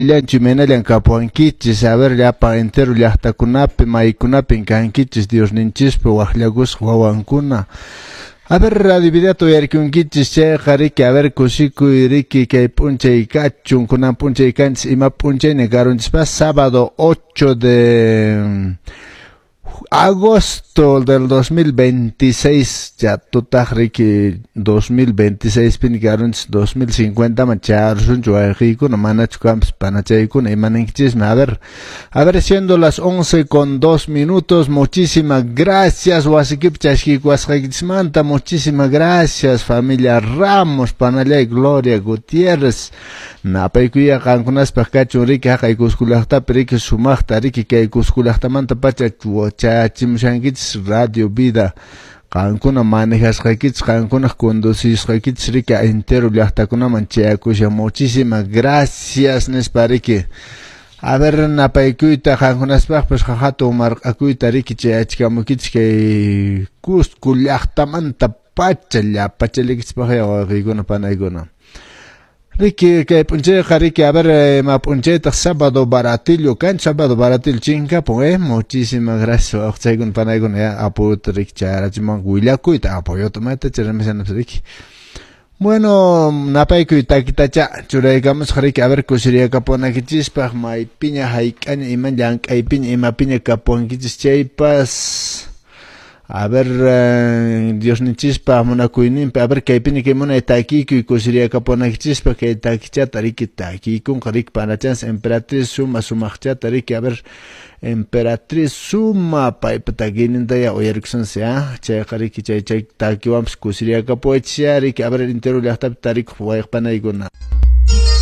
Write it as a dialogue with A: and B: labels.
A: Llanchu imaynallan kapuwankichis, a ver, llapan entero llaqtakunapi, maykunapin kankichis Diosninchispa waqllakusqa wawankuna. A ver, Radio Vidata uyarikunkichis chayqa riki, a ver, kusikuy riki kay p'unchay kachun, kunan p'unchay kanchis, ima p'unchayña karunchispas, sábado 8 de agosto del 2026, ya tutaq riki 2026 pin karunchis, 2050 man charusunchu wayqiykuna, manachu kanpas panachaykuna, imaninkichismi. A ver, siendo las 11:02, muchísimas gracias wasikipi chaskiykuwasqaykichismanta, muchísimas gracias familia Ramos, panallay Gloria Gutiérrez, napaykuya qankunaspaq kachun riki, haqay Cusco llaqtapi riki sumaqta riki kay Cusco llaqtamanta pacha chayachimushankichis Radio Vida, qankuna manejasqaykichis, qankunaq conducisqaykichis riki entero llaqtakunaman chayakushan, muchísimas gracias nispa riki. A ver, napaykuyta qankunaspaqpas hatun marq'akuyta riki chayachikamukichis kay Cusco llaqtamanta pacha llapachalikichispaq wawqiykuna panaykuna. Riki kay p'unchayqa riki, a ver, ma p'unchaytaq sábado baratillo kan, sábado baratillo chinkapun, muchísimas gracias wawqichaykuna panaykuna, ya apoyota riki chayarachimuwanku willakuyta, apoyota mayta chayramushanapis riki. Bueno, napaykuy takitacha churaykamusqa riki, a ver, kusiriyakapuwanaykichispaq, maypiña hayk'aña ima llank'aypiña imapiña kapuwankichis chaypas. A ver, Diosninchispa munakuyninpi, a ver, kaypiña kay munay takiykuy kusiriyakapuwanaykichispaq, kay takichata riki takiykunqa riki panachans Emperatriz Suma sumaqchata riki, a ver, Emperatriz Suma paypa takiyninta ya uyarikusunsi, chayqa riki chay takiwanpas kusiriyakapuwaychis riki, a ver, entero llaqtapi tarikuq wayqpanaykuna.